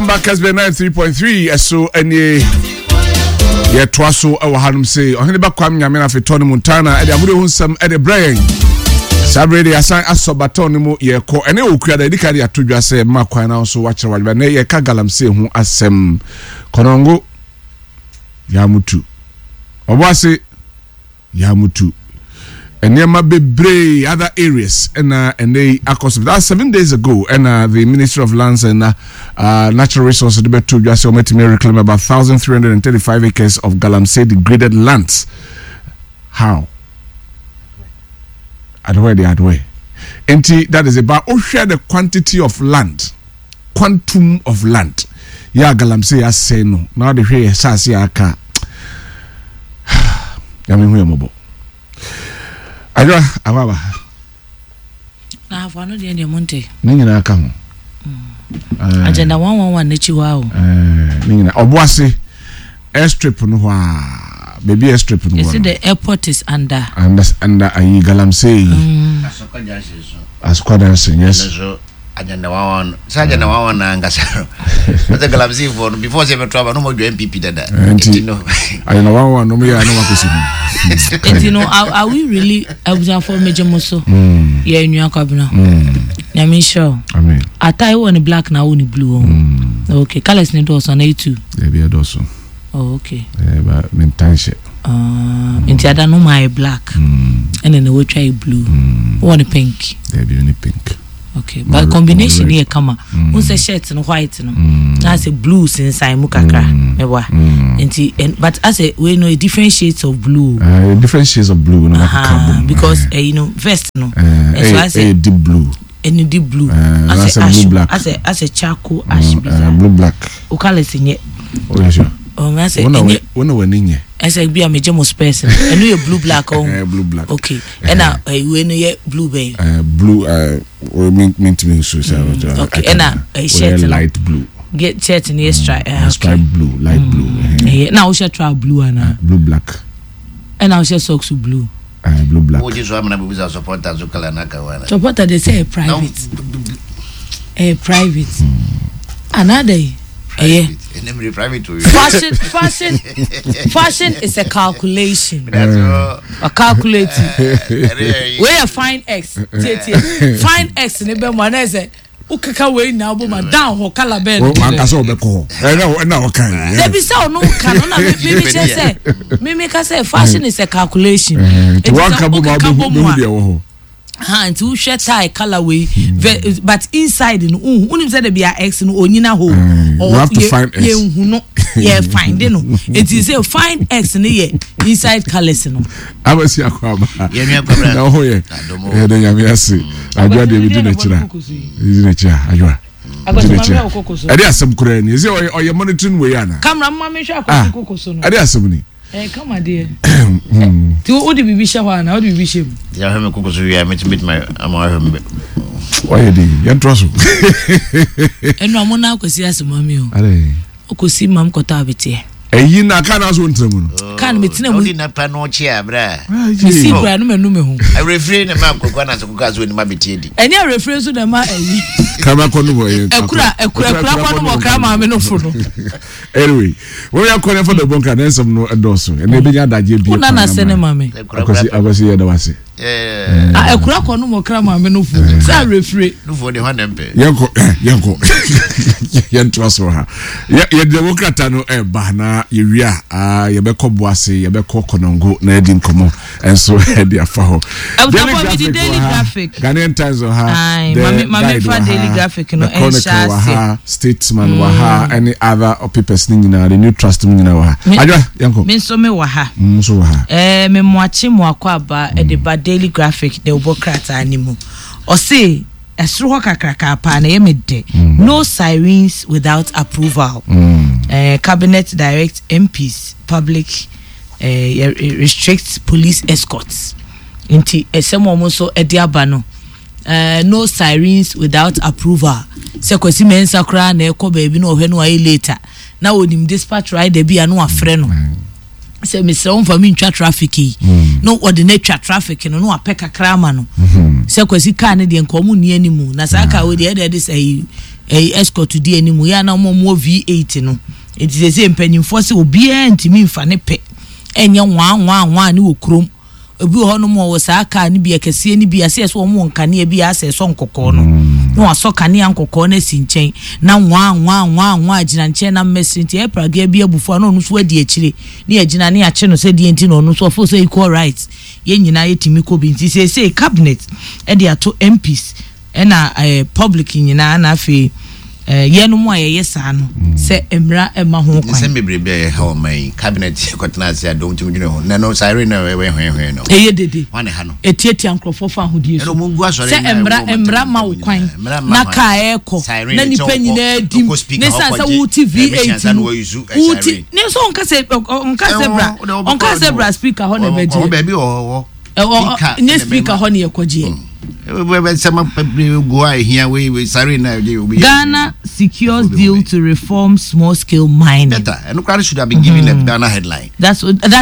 Welcome back, SB 93.3. Ɛso ɛnie yɛtoa so ɛwɔ hanom se ɔhene ba kwam nyame no afetɔ no Montana ɛde agodeɛ ho nsɛm ɛde brɛ yɛn. Saa bere de asan asɔ batɔn no mu yɛkɔ ɛne okua da ɛdi ka de ato dwa sɛ mma kwan na nso wakyerɛ wadwuma ne yɛka galamsey ho asɛm kɔnɔngo yamutu ɔbɔ ase Yɛamutu nneɛma bebree other areas ɛna ɛnɛ yi akɔ so. That's 7 days ago ɛna the Ministry of Lands and Natural Resources de bɛto dwa sɛ wɔatumi reclaim about 1,335 acres of galamsey degraded lands. How? Adoɛ de adoɛ. Nti that is about wohwɛ the quantity of land, quantum of land yɛ a galamsey asɛe no na wode hwɛ yɛ saase a aka, Nyame hu yɛ mmɔbɔ. Adwoa awaba. Na afa no deɛ mo nte. Ne nyinaa ka ho. Agenda 111 n'akyi hɔ a o. Ne nyinaa ɔboase airstrip no hɔ a, baabi airstrip no wɔ no. The airport is under. Under ayi galamsey. Asokwa Junction, yes. Agenda 111 sɛ agenda 111 na ankasa no sɛ galamsey foɔ no before sɛ bɛto aba no ɔmɔdwa NPP dada. Nti no agenda 111 no ɔmyɛ a na wakɔsi ho. Nti no are we really? Abusuafoɔ, megye mo so. Yɛ nua Kwabena, Nyame nhyira o. Atae wɔ ne black na wɔ ne blue wɔ. Okay, colours ne dɔɔso ana etu? Dabi, ɛdɔɔso. Oh, okay. Ba mentan hyɛ. Nti ada no ma ayɛ black ɛna na wɔatwa yɛ blue, wɔ ne pink? Dabi, ne pink. Okay, but combination yɛ kama n sɛ shirt no white no na asɛ blue sensan mu kakra mɛboa nti, but asɛ wei no different shades of blue. Different shades of blue no uh, bom because vest no ɛso asɛ deep blue. Ɛno deep blue asɛ ash blue black. Asɛ charcoal ash bi saa. Blue black. O colours nyɛ. O yɛ sure? Ɔn asɛ ɛnyɛ. Wɔn na wɔn ani nyɛ. Ɛsɛ bi a megye mo spares no, ɛno yɛ blue black ɔn? Blue black. Okay, ɛna wei no yɛ blue bɛn? Blue mi mi ntumi nsu sɛ. Okay, ɛna shirt no light blue. Get shirt no yɛ stripe. Stripe blue, light blue. Ɛyɛ na wohyɛ trouser blue ana? Blue black. Ɛna wohyɛ socks blue? Blue black. Wogye so amena bibisa supporter so colour na ka wana. Supporter de sɛ ɛyɛ private, ɛyɛ private anaadɛ ɛyɛ. Ɛnɛ private o. Fashion, fashion, fashion is a calculation. A calculate. Wei yɛ fine x tietie fine x ne bɛ mu anaa sɛ wokeka wei nyinaa bɔ ma down hɔ colour bɛɛ no. Wankasa ɔbɛkɔ hɔ ɛna ɔka yi. Dabi, sɛ ɔno ka no na mimi kyerɛ sɛ mimi ka sɛ fashion is a calculation. Nti wanka bɔ mu a, wobɛhu deɛ wɔ hɔ. Ha nti wohwɛ tie colour wei, but inside no nhu. Wonim sɛ de bia x no onyina hɔ. You have to find x. Yɛnhu no, yɛ find no. Nti sɛ find x no yɛ inside colours no. Abasi akɔ aba na ɔho yɛ yɛde Nyame ase. Adwoa deɛ bɛdi n'akyiri a, bɛdi n'akyi a, adwoa di n'akyi a, ɛde asɛm koraa ni ɛsɛ ɔyɛ monitoring wei ana. Camera mma mi hwɛ Akwasi koko so no. Ɛde asɛm ni. Ɛyɛ kama deɛ. Nti wode biribi hyɛ hɔ ana wode biribi hyɛ mu? Deɛ ahwɛ me koko so wie a, mɛtumi ama ahwɛ me. Wayɛ de yɛntoa so. Ɛnu a mo na Akwasi asɛm mi o. Ɔkɔsi mam kɔtɔ abeteɛ. Ɛyi na kaa na so ntena mu no. Kaa no metena mu. Wodi na pa no ɔkye a bra. Mesi kura no manu me ho. Awerɛfire na ma akɔkɔ na sɛ kɔkɔ so anim abeteɛ di. Ɛnyɛ awerɛfire nso na ɛma ɛyi. Krama kɔ no bɔ ɛyɛ. Ɛkura ɛkura ɛkura kɔ no bɔ kra maame no fo no. Anyway, wɔn yɛ kɔ ne fa dɔbɔ nkra ne nsɛm no ɛdɔɔso ɛna ebi nya adagye bi. Wona na sɛ ne maame. Akwasi, Akwasi, yɛ da wase. Ɛkura kɔ no mɔ kra maame no fo sɛ awerɛfire. Nufoɔ de hɔ ne mpɛ. Yɛnkɔ, yɛnkɔ, yɛntoa so ha. Yɛde wɔ krataa no ɛba na yɛwie a, yɛbɛkɔ Boase, yɛbɛkɔ Kɔnɔngo na yɛdi nkɔmmɔ ɛnso ɛde afa hɔ. Daily Graphic, Ghanaian Times wɔ ha, The Guide wɔ ha, The Chronicle wɔ ha, Statesman wɔ ha, ɛne other papers ne nyinaa, the New Trust mu nyinaa wɔ ha. Adwa, yɛnkɔ. Me nso me wɔ ha. Nso wɔ ha. Me mmoakye mmoakɔ aba ɛde ba Daily Graphic de wobɔ krataa ne mu. Ɔse ɛsoro hɔ kakraka paa na ɛyɛ me dɛ. No sirens without approval. Cabinet direct MPs public restrict police escorts. Nti ɛsɛm wɔn nso ɛde aba no, no sirens without approval. Sɛ Kwasi Mɛnsa koraa na ɛkɔ baabi na ɔhwɛ no ayɛ later na onim dispatch rider bi a, na wafrɛ no sɛ mesrɛ wo mfa mi ntwa traffic yi, na wɔde no atwa traffic no na wapɛ kakra ama no. Sɛ Kwasi kaa no deɛ nka ɔmo nni anim na saa kaa wei deɛ ɛde sɛ yi. ɛyi escort di anim yɛ a na wɔn a wɔwɔ V8 no. Enti seesei mpanyimfoɔ se obiara ntumi mfa ne pɛ nyɛ nwaa nwaa nwaa ne wɔ kurom. Obi wɔ hɔnom a ɔwɔ saa kaa no bi, akɛseɛ no bi, asɛ sɛ wɔn wɔ nkanea bi a asɛ ɛsɔ nkɔkɔɔ no. Na wasɔ kanea nkɔkɔɔ no asi nkyɛn na nwaa nwaa nwaa nwaa gyina nkyɛn na mmɛsere nti ɛyɛ pragea bi abufuo a na ɔno nso adi akyire ne yɛgyina ne yɛakye no sɛ deɛ nti na ɔno nso ɔfeel sɛ equal rights yɛn nyinaa yɛtumi kɔ bi nti seesei cabinet de ato MPs Ɛna ɛɛ public nyinaa na afei ɛɛ yɛnom a yɛyɛ saa no sɛ mmara mma ho kwan. Nsɛm bebrebe a ɛha ɔman yi, cabinet kɔtena ase a dɔm tumi dwene ho. Nnɛ no, siren no a ɛwɔ hwɛnhwɛn no. Ɛyɛ dede. Hwan na ɛha no? Ɛtiatia nkurɔfoɔ fa ahodie so. Ɛna wɔn gu asɔre Sɛ mmara mmara ma wo kwan na kaa ɛrekɔ na nipa nyinaa di mu ne san sɛ wote V8 mu wote ne nso ɔnka sɛ ɔnka sɛ bra ɔnka sɛ bra speaker hɔ na ɛbɛgye. Baabi wɔ hɔ. Ɛwɔ nyɛ speaker hɔ ne yɛkɔgyeɛ. Ghana secures deal to reform small scale mining. Better. And should have been given a Ghana headline. That's that.